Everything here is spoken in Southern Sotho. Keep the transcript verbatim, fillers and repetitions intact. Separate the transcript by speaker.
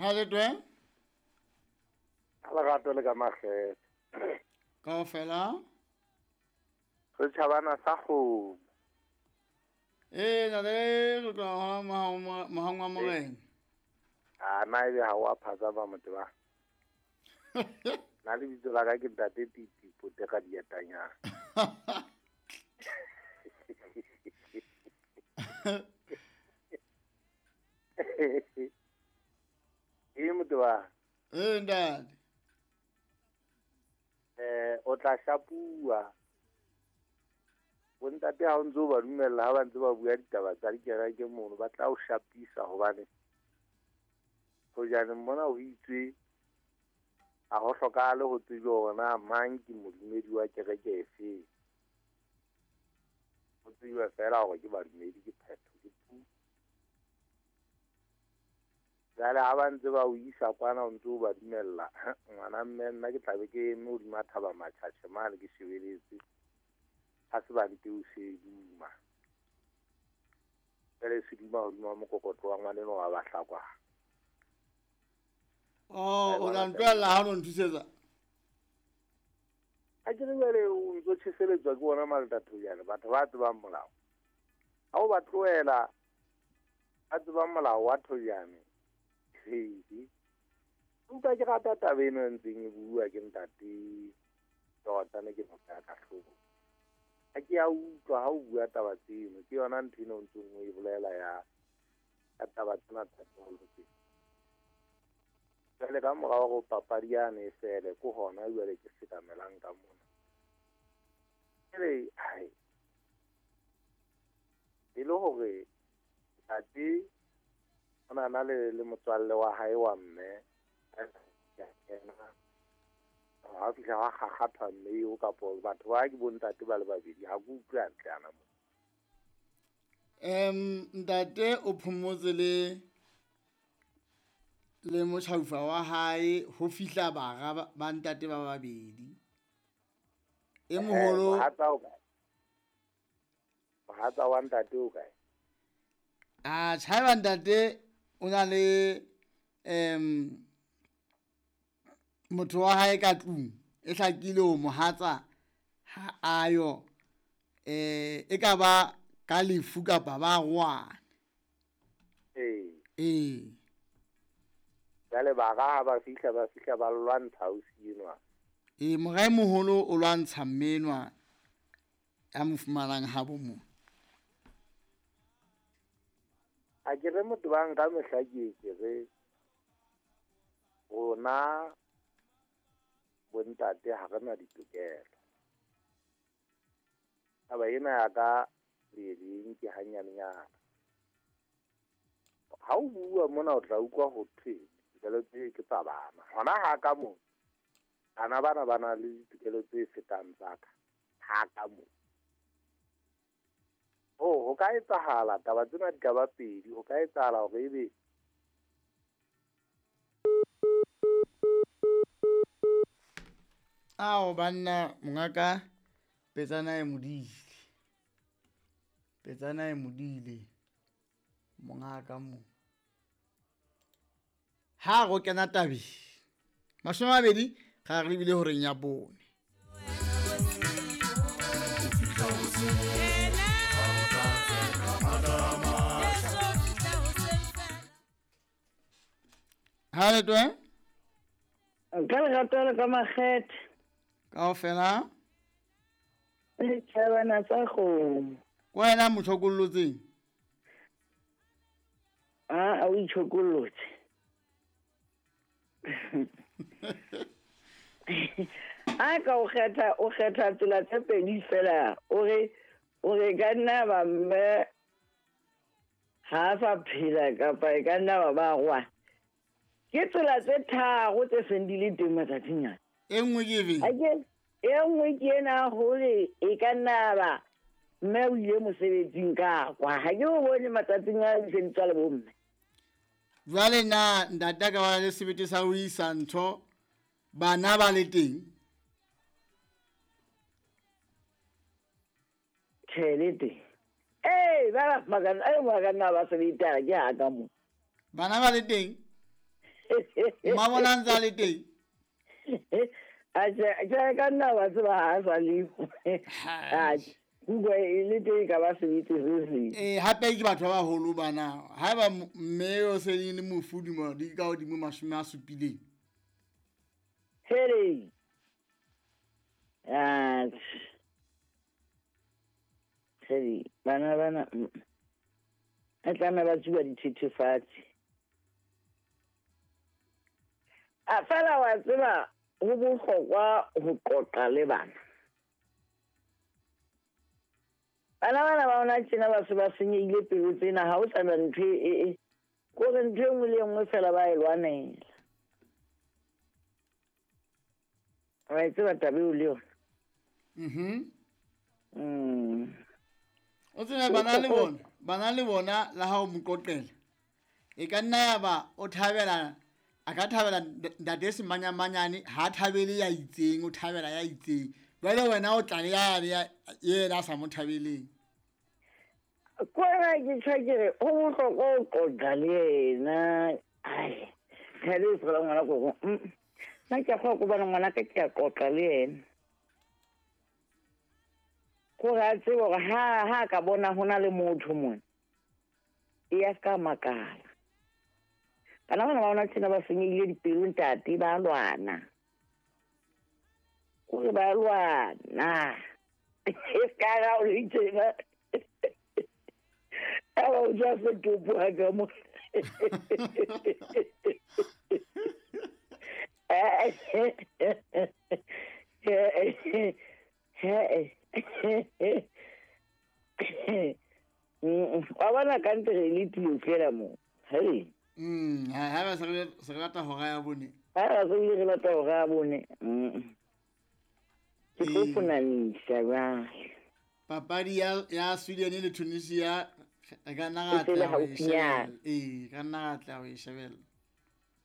Speaker 1: Ha le twe?
Speaker 2: Ha lerato le ka makgethe.
Speaker 1: Kaofela?
Speaker 2: Re tjhabana sa kgomo.
Speaker 1: Eh, na le re tla ma ma morena.
Speaker 2: Ah, na ebe ha wa phatsama motho ba. Na le bitso la ka ke ntate Titi Pote ka dietanyana. E motho ba.
Speaker 1: Eh, ntate.
Speaker 2: Eh, o tla shapua. Bontate ha o ntso ba dumella ha ba ntse ba bua ditaba tsa dikereke mono ba tla o shapisa hobane hojane mona ho itswe a ho hlokahale ho tsejwa hore na mang ke modumedi wa kereke efe. Ho tsejwa fela hore ke badumedi ke phetho ke pu. Jwale ha ba ntse ba o isa kwana o ntse o ba dumella ngwana mme nna ke tlabe ke eme hodima thaba matjhatjhe mane ke shebeletse. Ha se ba nte o se duma. Jwale se duma hodima mokokotlo wa ngwana enwa wa Bahlakwa.
Speaker 1: Oh, o tla ntlohella ha o nthusetsa.
Speaker 2: Ha ke re jwale o ntso tjheseletswa ke bona malatathonyana batho ba tsebang molao. Ha o ba tlohela ba tsebang molao wa Thojane. Hei. Empa ke rata taba eno e ntseng e bua ke ntate tota ne ke motho ya ka hloko. Ha ke a utlwa ha o bua taba tseno ke yona ntho eno o ntseng o e bolela ya ya taba tsena tsa tolo tse. Jwale ka morao hore papadi yane e fele ke hona jwale ke sekamelang ka mona. Jwale hai e le hore ntate o na na le le motswalle wa hae wa mme ya kena ha fihla ha kgakgathwa mme eo kapo batho ba ke bontate ba le babedi ha ke utlwe hantle ana mo.
Speaker 1: Em ntate o phomotse le le motjhaufa wa hae ho fihla bara ba ntate ba babedi. E moholo
Speaker 2: mohatsa o kae? Mohatsa wa ntate o kae?
Speaker 1: Ah, tjhaiba ntate o na le em motho wa hae ka tlung e hlakile ho mohatsa ha ayo eh e ka ba ka lefu kapa ba rwana.
Speaker 2: Eh.
Speaker 1: Eh.
Speaker 2: Jwale bara ha ba fihla ba fihla ba lwantsha ausi enwa.
Speaker 1: Eh, mora e moholo o lwantsha mme enwa ya mo fumanang habo mo.
Speaker 2: Ha ke re motho ba nka mehla ke ke re rona bontate ha re na ditokelo. Taba ena ya ka le leng ke hanyanenyana. Ha o bua mona o tla utlwa ho thwe ditokelo tse ke tsa bana. Hona ha ka mo bana bana ba na le ditokelo tse fetang tsa ka. Ha ka mo. Oh, ho ka etsahala taba tsena di ka ba pedi, ho ka etsahala hore ebe
Speaker 1: Ao banna mongaka petsana e modile. Petsana e modile mongaka mo. Ha go kena tabi. Mashome a mabedi ga re lebile horeng ya bone. Ha le twe?
Speaker 3: Ka lerato le ka makgethe.
Speaker 1: Kaofela?
Speaker 3: Le tjhabana tsa kgomo.
Speaker 1: Ke wena motjhokollotseng?
Speaker 3: Ah, o itjhokollotse. A ka o kgetha o kgetha tsela tse pedi fela o re o re ka nna ba mme ha sa phela kapa e ka nna ba ba rwa. Ke tsela tse tharo tse seng di le teng matsatsing ana.
Speaker 1: E nngwe ke efe?
Speaker 3: Ake e nngwe ke ena hore e ka nna ba mme o ile mosebetsing ka kwa. Ha ke o bone matsatsing a di se di tswa le bomme.
Speaker 1: Jwale na ntate ka ba le sebete sa ho isa ntho bana ba le teng?
Speaker 3: Tjhe, le teng. Eh, ba ba magana, eh magana ba sebete ke ha ka mo.
Speaker 1: Bana ba le teng? Mmabona a ntse a le teng.
Speaker 3: Atjhe, tjhe ka nna wa tseba ha a sa le. Atjhe, kuka e le teng ka ba sebete se seng.
Speaker 1: Eh, hape ke batho ba baholo bana. Haeba mme o se le mofu dilemo di ka hodimo mashome a supileng.
Speaker 3: Hele. Atjhe. Hele, bana bana a tlameha ba tsuba dithethefatsi. A fela wa tseba ho bohlokwa ho qoqa le bana. Bana bana ba ona tjena ba se ba senyehile pelo tsena, ha ho sana ntho e e kore ntho e nngwe le e nngwe fela ba e lwanela. Wa e tseba taba eo le yona?
Speaker 1: Mhm.
Speaker 3: Mm.
Speaker 1: O tsebe bana le bona, bana le bona la ha o mo qoqela. E ka nna ya ba o thabela, a ka thabela ntate Semanyamanyane, ha thabele ya itseng, o thabela ya itseng. Jwale wena o tla le ya ya yena a sa mo thabeleng.
Speaker 3: Kwana ke tjho ke re ho bohlokwa ho qoqa le yena. Ai, thabele fela ngwana ko. Nna ke a kgolwa hobane ngwana ka ke a qoqa le yena. Kore a tsebe hore ha ha ka bona ho na le motho mona, e a ska makala. Bana bana ba ona tjena ba senyehile dipelo ntate, ba lwana. Kore ba lwana. E ska ra o le tjena. A ba o ja setopo ha ka mo. Wa bona ka ntle re le tio fela mo. Hey.
Speaker 1: Mm, ha ha ba se re se re lata hora ya bone.
Speaker 3: Ha ba se re lata hora ya bone. Mm. Ke tlo fonanisa ba.
Speaker 1: Papadi ya ya Sweden le Tunisia re ka nna ra tla ho e shebella. Eh, ka nna ra tla ho e shebella.